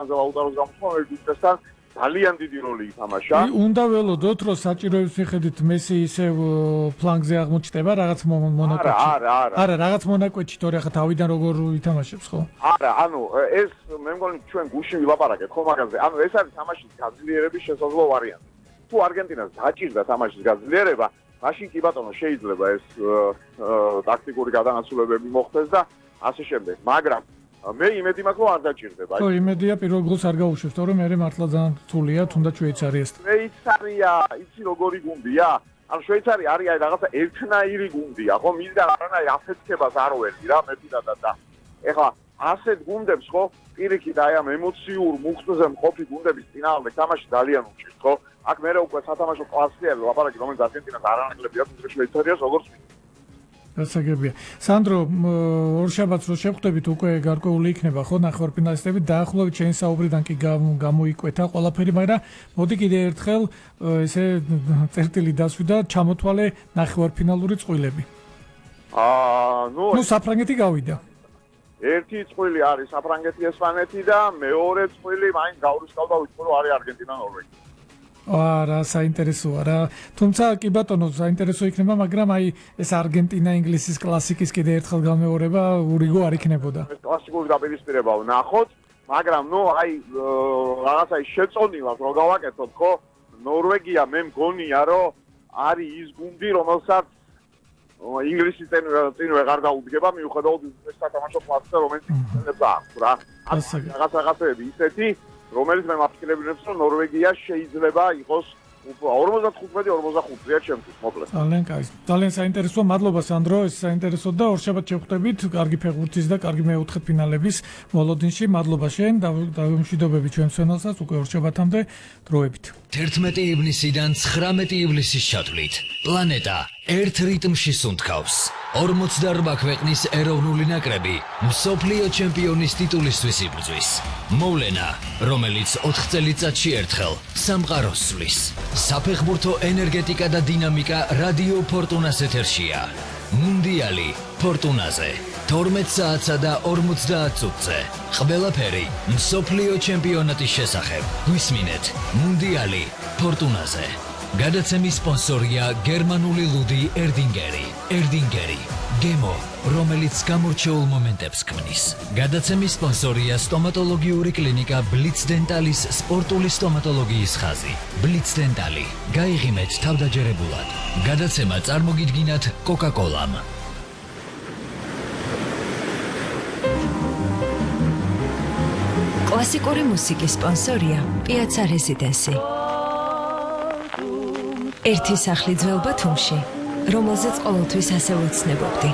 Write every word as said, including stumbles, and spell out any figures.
ლაუტაროს გამოცხადება ვიტესთან ძალიან დიდი როლი ითამაშა. უნდა ველოდოთ, რომ საჭიროების მიხედვით მესი ისევ ფლანგზე აღმოჩნდება რაღაც მონაკვეთში. არა, არა, არა, რაღაც მონაკვეთში, თორე ახლა თავიდან როგორ ითამაშებს, ხო? არა, ანუ ეს მე მგონი ჩვენ გუშინ ვილაპარაკეთ ხო მაგაზე. ანუ ეს არის თამაშის გაძლიერების შესაძლო ვარიანტი. თუ არგენტინას დაჭირდა თამაშის გაძლიერება, მაშინ კი ბატონო შეიძლება ეს ტაქტიკური გადანაცვლებები მოხდეს და ასე შემდეგ. მაგრამ მე იმედი მაქვს რომ არ დაჭირდება. ხო, იმედია პირველ გოლს არ გაუშვებს, თორემ მე მართლა ძალიან რთულია, თუნდაც შვეიცარიასთან. შვეიცარია, იცი როგორი გუნდია? ანუ შვეიცარი არის აი რაღაცა ერთნაირი გუნდია, ხო? მისგან არანაირი აფეთქებას არ ვერდი რა, მე პირადად და ეხლა ასეთ გუნდებს ხო, პირიქით აი ამ ემოციურ მუხტზე მყოფი გუნდების წინააღმდეგ თამაში ძალიან უჭირს, ხო? აქ მე უკვე სათამაშო კლასი არის ლაპარაკი, რომელიც არგენტინას არ ანაკლები აქვს შვეიცარიას როგორც გასაგებია. სანდრო, ორშაბათს რო შევხვდებით, უკვე გარკვეული იქნება ხო ნახევარფინალისტები, დაახლოებით ჩემი საუბრიდან კი გამოიკვეთა ყველაფერი, მაგრამ მოდი კიდე ერთხელ ესე წერტილი დასვი და ჩამოთვალე ნახევარფინალური წყვილები. აა, ნუ ნუ საფრანგეთი გავიდა. ერთი წყვილი არის საფრანგეთი, ესპანეთი და მეორე წყვილი მაინც გავრისკავდა ვიტყვი რომ არის არგენტინა, ნორვეგია. არა, საინტერესოა რა. თუმცა კი ბატონო, საინტერესო იქნება, მაგრამ აი ეს არგენტინა ინგლისის კლასიკის კიდე ერთხელ გამეორება ურიგო არ იქნებოდა. ეს კლასიკური დაპირისპირება ვნახოთ, მაგრამ ნუ აი რაღაცა შეწონილად რო გავაკეთოთ, ხო? ნორვეგია მე მგონია, რომ არის ის გუნდი, რომელსაც ინგლისის წინ წინ ვეღარ დაუდგება, მიუხედავად ის სათამაშო კლასზე, რომელიც იქნებს აქვს რა. რაღაც რაღაცები ისეთი რომელიც მე მაფიქრებინებს რომ ნორვეგია შეიძლება იყოს ორმოცდახუთმეტი ორმოცდახუთია ჩემთვის მოკლედ. ძალიან კაი. ძალიან საინტერესოა. მადლობა სანდრო, ეს საინტერესო და ორშაბათ შევხვდებით. კარგი ფეხბურთის და კარგი მეოთხედფინალების მოლოდინში. მადლობა შენ და დავიმშვიდობები ჩვენს ფენალსაც უკვე ორშაბათამდე დროებით. თერთმეტი ივნისიდან ცხრამეტი ივლისის ჩათვლით. პლანეტა ერთ რიტმში სუნთქავს. ორმოცდაორმა ქვეყნის ეროვნული ნაკრები მსოფლიო ჩემპიონის ტიტულისთვის იბრძვის. მოვლენა, რომელიც ოთხ წელიწადში ერთხელ სამყაროს სვლის. საფეხბურთო ენერგეტიკა და დინამიკა რადიო ფორტუნას ეთერშია. მუნდიალი ფორტუნაზე. თორმეტ საათსა და ორმოცდაათ წუთზე. ყველაფერი მსოფლიო ჩემპიონატის შესახებ. გვისმინეთ მუნდიალი ფორტუნაზე. გადაცემის სპონსორია გერმანული ლუდი ერდინგერი. ერდინგერი გემო, რომელიც გამორჩეულ მომენტებს ქმნის. გადაცემის სპონსორია სტომატოლოგიური კლინიკა ბლიც დენტალის სპორტული სტომატოლოგიის ხაზი. ბლიც დენტალი. გაიღიმეთ თავდაჯერებულად. გადაცემა წარმოგიდგინათ კოკა-კოლამ. კლასიკური მუსიკის სპონსორია პიაცა რეზიდენსი. ერთი სახლი ძველ ბათუმში, რომელზეც ყოველთვის ასე ვეცნებობდი.